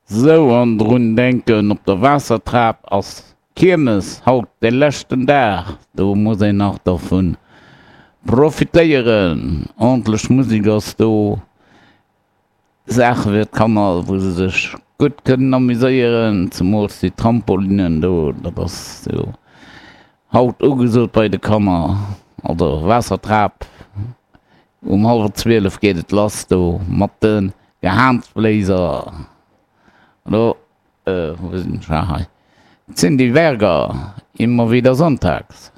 Sou, an drun denken, op der Waassertrap ass Kiermes haut de leschten Dag, do muss een nach dervun profitéieren. Ordentlech Musek ass do, Saache fir d'Kanner, wou se sech gutt kënnen amuséieren, zemools déi Trampolinnen do, dat ass jo haut ugesot bei de Kanner. Also Waassertrap, um hallwer 12 geet et lass do mat de Gehaansbléiser. Elo, wou sinn ech? Ah hei, d'Cindy Berger, Immer wieder sonntags.